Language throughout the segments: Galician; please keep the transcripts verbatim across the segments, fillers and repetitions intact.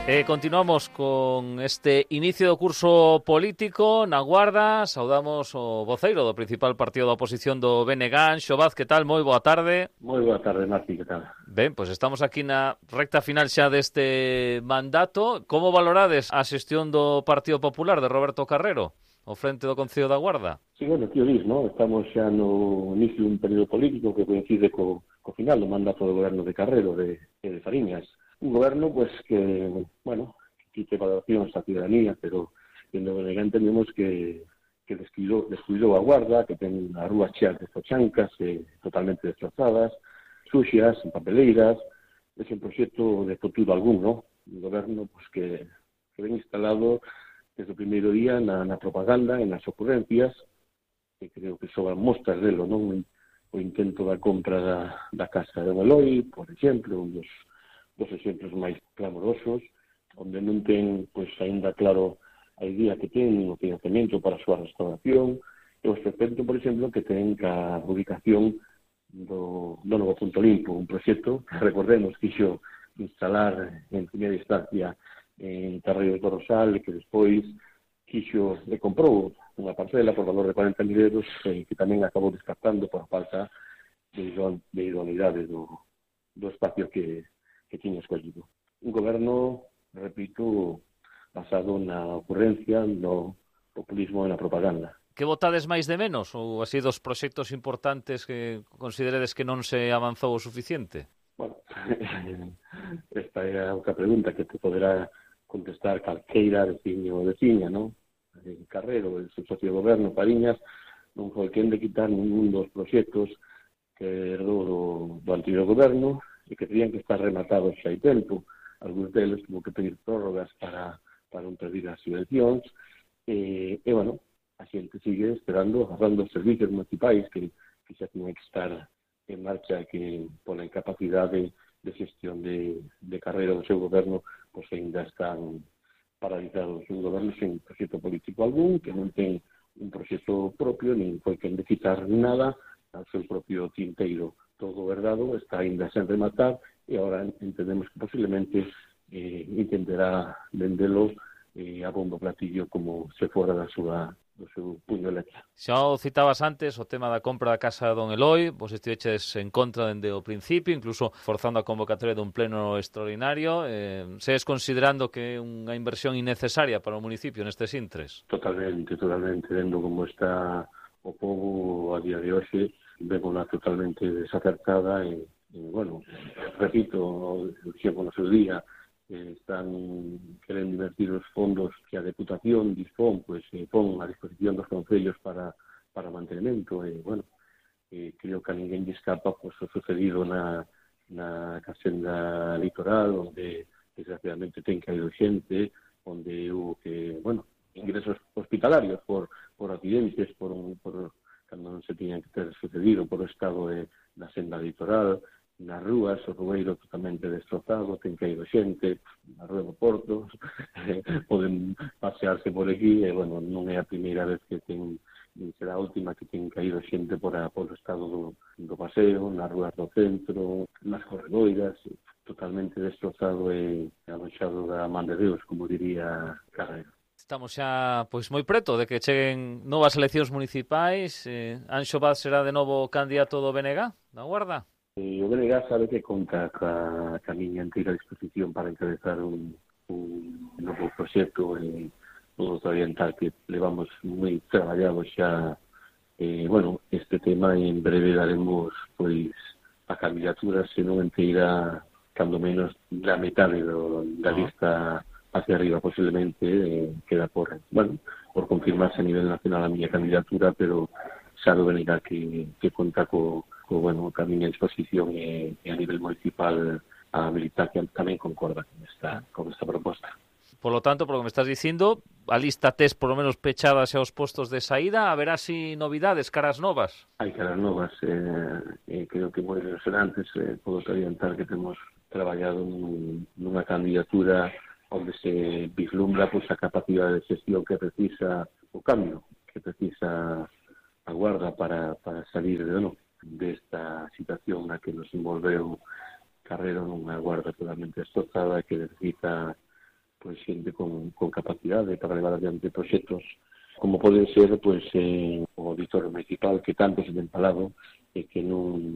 Eh, continuamos con este inicio do curso político na Guarda. Saudamos o voceiro do principal partido da oposición do B N G, Anxo Vaz. Que tal? Moi boa tarde. Moi boa tarde, Marti, que tal? Ben, pois estamos aquí na recta final xa deste mandato. Como valorades a xestión do Partido Popular de Roberto Carrero ao frente do Concello da Guarda? Sí, bueno, tío Luis, ¿no? Estamos xa no inicio dun período político que coincide co, co final do mandato do goberno de Carrero de, de Fariñas. Un goberno, pues, que, bueno, que quite valoracións a ciudadanía, pero en o que entendemos que, que descuidou, descuidou a Guarda, que ten as rúas cheas de zochancas, eh, totalmente destrozadas, suxias, en papeleiras. É un proxecto de futuro algún, ¿no? Un goberno, pues, que, que ven instalado desde o primeiro día na, na propaganda, en as ocurrencias, que creo que sobran mostras delo, non? O intento da compra da, da casa de Eloy, por exemplo, un dos, dos exemplos máis clamorosos, onde non ten, pois, aínda claro a idea que ten o financiamento para a súa restauración, e o respecto, por exemplo, que ten ca ubicación do, do novo Punto Limpo, un proxecto que, recordemos, quixo instalar en primeira instancia en Carreiro do Rosal, e que despois quixo e comprou unha parcela por valor de cuarenta mil euros, eh, que tamén acabou descartando por falta de, de idoneidade do, do espacio que, que tiña escollido. Un goberno, repito, basado na ocurrencia, no populismo e na propaganda. Que votades máis de menos? Ou así dos proxectos importantes que consideredes que non se avanzou o suficiente? Bueno, esta é a outra pregunta que te poderá contestar calqueira veciño ou veciña, non? En Carrero, el seu socio de goberno, Fariñas, non foi quen de quitar ningún dos proxectos que herdou do, do anterior goberno e que terían que estar rematados xa hai tempo. Alguns deles tuvo que pedir prórrogas para, para non perder as subvencións. E, e, bueno, a xente sigue esperando, agarrando os servicios municipais que, que xa tiñan que estar en marcha, que pola incapacidade de xestión de, de Carrera do seu goberno, pois ainda están paralizados. Un goberno sen proxecto político algún, que non ten un proxecto propio, nin foi quen de quitar nada ao seu propio tinteiro. Todo verdado está ainda sen rematar, e agora entendemos que posiblemente eh, intentará vendelo eh, a bombo platillo como se fora da súa do seu puño letra. Xa o citabas antes, o tema da compra da casa de Don Eloy, vos estiveches en contra dende o principio, incluso forzando a convocatoria dun pleno extraordinario. Eh, segues considerando que é unha inversión innecesaria para o municipio nestes intres? Totalmente, totalmente, vendo como está o povo a día de hoxe, vémola totalmente desacertada e, e bueno, repito, dixemos no seu día, eh, están querendo invertir os fondos que a Deputación dispón, pois eh, pon a disposición dos concellos para, para mantenimento, e, bueno, eh, creo que a ninguén lle escapa pois, o sucedido na, na casenda litoral, onde desgraciadamente ten caído xente, onde hubo que, bueno, ingresos hospitalarios por, por accidentes, por, por cando non se tiñan que ter sucedido por o estado de, da senda litoral, nas rúas, o rueiro totalmente destrozado, ten caído xente, na rúa do Porto, poden pasearse por aquí, e, bueno, non é a primeira vez que ten, será a última que ten caído xente por, a, por o estado do, do paseo, nas rúas do centro, nas corredoiras, totalmente destrozado e anoxado da man de Deus, como diría Carrero. Estamos xa pois moi preto de que cheguen novas eleccións municipais. Eh, Anxo Vaz será de novo candidato do B N G da Guarda? E o B N G sabe que conta ca, ca miña antiga disposición para encabezar un, un novo proxecto e todo oriental que levamos moi traballado xa. E, bueno, este tema en breve daremos pois a candidatura, se non inteira, cando menos da metade do, da lista hacia arriba, posiblemente, eh, queda por, bueno, por confirmarse a nivel nacional a miña candidatura, pero xa do B N G que, que conta co, co bueno, a miña disposición e, e a nivel municipal a militar que tamén concorda con esta, con esta proposta. Por lo tanto, por lo que me estás dicindo, a lista tes por lo menos pechada xa os postos de saída, haberá así novidades, caras novas? Hai caras novas, eh, eh, creo que moi ilusionantes, eh, podo orientar que temos traballado nun, nunha candidatura onde se vislumbra pois, a capacidade de xestión que precisa o cambio, que precisa a Guarda para, para salir de, no, desta situación na que nos envolveu Carrero nunha Guarda totalmente destrozada que necesita pois xente con, con capacidade para levar adiante proxectos como poden ser pois eh, o auditorio municipal que tanto se ten falado e que non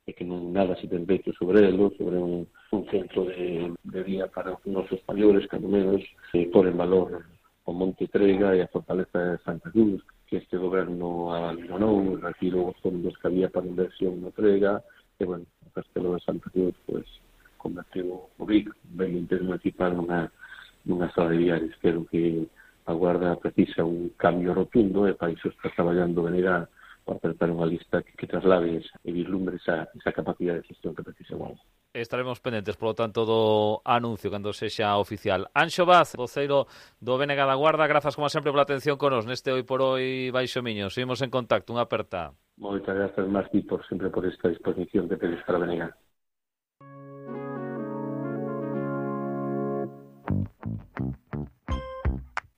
e que non nada se ten feito sobre ele, sobre un, un centro de, de día para os nosos maiores, cando menos eh, por en valor o Monte Trega e a fortaleza de Santa Cruz, que este goberno abandonou, retirou os fondos que había para inversión na Trega, e, bueno, o Castelo de Santa Cruz, pois, convertiu o Vic, ben interés municipal, nunha, nunha sala de viares. Creo que a Guarda precisa un cambio rotundo e para iso está traballando venirá para acertar unha lista que, que traslade e vislumbre esa, esa capacidade de gestión que precisa a Guarda. Estaremos pendentes, polo tanto, do anuncio cando sexa oficial. Anxo Vaz, voceiro do B N G da Guarda, grazas como sempre pola atención con nos neste Hoy por Hoy Baixo Miño. Seguimos en contacto, unha aperta. Moitas grazas, Martí, por sempre por esta disposición que tedes para B N G.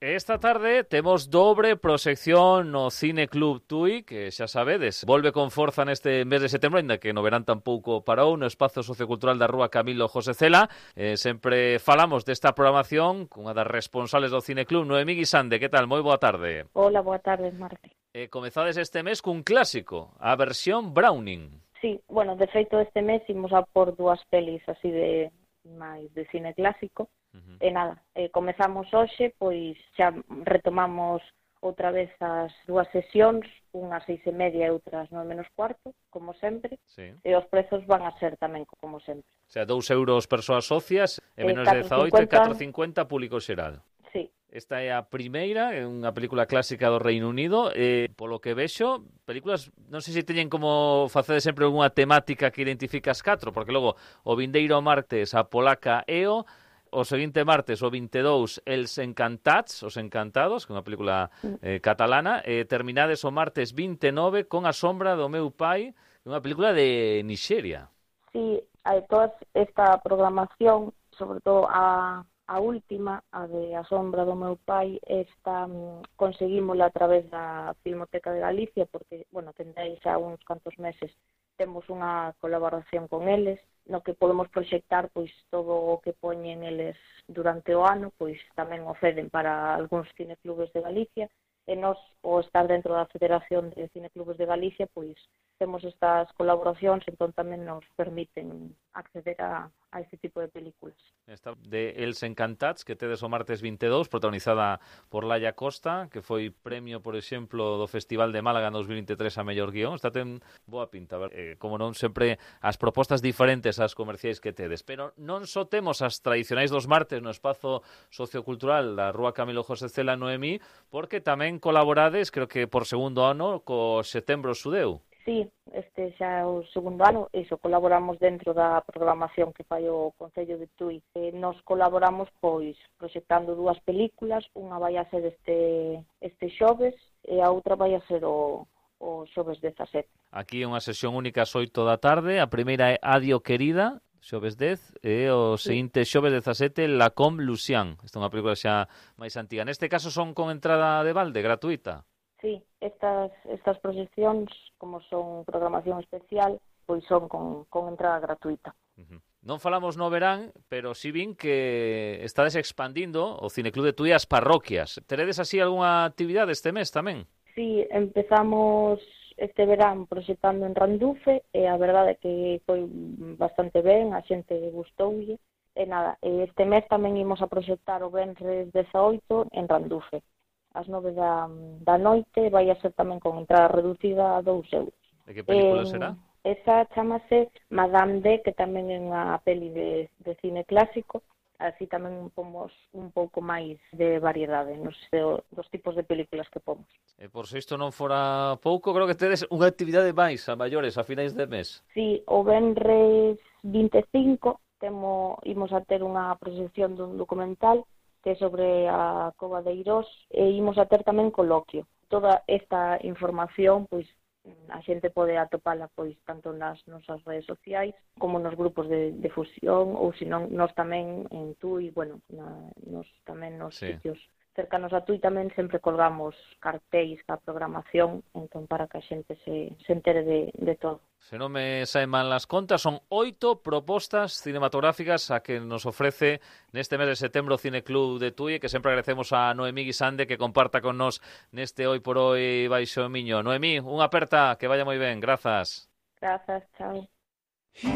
Esta tarde temos dobre proxección no Cine Club Tui, que xa sabedes, volve con forza neste mes de setembro, ainda que no verán tampouco parou, no espazo sociocultural da Rúa Camilo José Cela. Eh, sempre falamos desta programación cunha das responsables do Cine Club, Noemí Guisande. Que tal? Moi boa tarde. Hola, boa tarde, Marti. Eh, comezades este mes cun clásico, a versión Browning. Sí, bueno, de feito este mes imos a por dúas pelis así de máis de cine clásico. Uh-huh. E nada, eh, comezamos hoxe, pois xa retomamos outra vez as dúas sesións, unhas seis e media e outras nove menos cuarto, como sempre, sí. E os prezos van a ser tamén como sempre. O sea, dous euros persoas socias e menos de dezaoito e catro cincuenta público xeral. Sí. Esta é a primeira, é unha película clásica do Reino Unido, e polo que vexo, películas, non sei se teñen como facer sempre algunha temática que identifica as catro, porque logo o vindeiro martes a polaca E O, o seguinte martes, o vinte e dous, Els Encantats, Os Encantados, que é unha película eh, catalana, e terminades o martes vinte e nove con A Sombra do meu pai, unha película de Nixeria. Sí, hai toda esta programación, sobre todo a, a última, a de A Sombra do meu pai, esta um, conseguímola a través da Filmoteca de Galicia, porque, bueno, tendréis xa uns cantos meses, temos unha colaboración con eles, no que podemos proxectar pois todo o que poñen eles durante o ano, pois tamén o ceden para algúns cineclubes de Galicia, e nós, o estar dentro da Federación de Cineclubes de Galicia, pois temos estas colaboracións, entón tamén nos permiten acceder a, a este tipo de películas. Esta de Els Encantats, que tedes o martes vinte e dous, protagonizada por Laia Costa, que foi premio, por exemplo, do Festival de Málaga en dos mil vinte e tres a mellor guión. Está ten boa pinta, eh, como non sempre as propostas diferentes ás comerciais que tedes, pero non só temos as tradicionais dos martes no espazo sociocultural da Rúa Camilo José Cela, Noemí, porque tamén colaborades, creo que por segundo ano, co Setembro Xudeu. Sí, este xa é o segundo ano, iso, colaboramos dentro da programación que fai o Concello de Tui. E nos colaboramos, pois, proxectando dúas películas, unha vai a ser este, este xoves e a outra vai a ser o, o xoves dezasete. Aquí é unha sesión única ás oito da tarde, a primeira é Adio Querida, xoves dez, e o sí. seguinte xoves dezasete, La Com Lucian. Esta é unha película xa máis antiga. Neste caso son con entrada de balde, gratuita. Sí, estas, estas proxeccións, como son programación especial, pois son con, con entrada gratuita. Uh-huh. Non falamos no verán, pero si vin que estades expandindo o Cineclub de Tui as parroquias. Teredes así algunha actividade este mes tamén? Sí, empezamos este verán proxectando en Randufe, e a verdade é que foi bastante ben, a xente gustoulle. E nada, este mes tamén imos a proxectar o venres dezaoito en Randufe. Ás nove da, da noite, vai a ser tamén con entrada reducida a dous euros. De que película eh, será? Esa chamase Madame D, que tamén é unha peli de, de cine clásico, así tamén pomos un pouco máis de variedade nos dos tipos de películas que pomos. E por se isto non fora pouco, creo que tedes unha actividade máis a maiores a finais de mes. Sí, o venres vinte e cinco temo, imos a ter unha proxección dun documental que é sobre a Cova de Eirós, e imos a ter tamén coloquio. Toda esta información, pois, a xente pode atopala, pois, tanto nas nosas redes sociais, como nos grupos de, de fusión, ou senón, nos tamén en Tui, bueno, na, nos tamén nos sí. sitios cercanos a Tui tamén sempre colgamos cartéis ca programación, entón para que a xente se, se entere de, de todo. Se non me saen mal las contas, son oito propostas cinematográficas a que nos ofrece neste mes de setembro o Cine Club de Tui, que sempre agradecemos a Noemí Guisande que comparta con nos neste Hoy por Hoy Baixo Miño. Noemí, unha aperta, que vaya moi ben, grazas. Grazas, chao.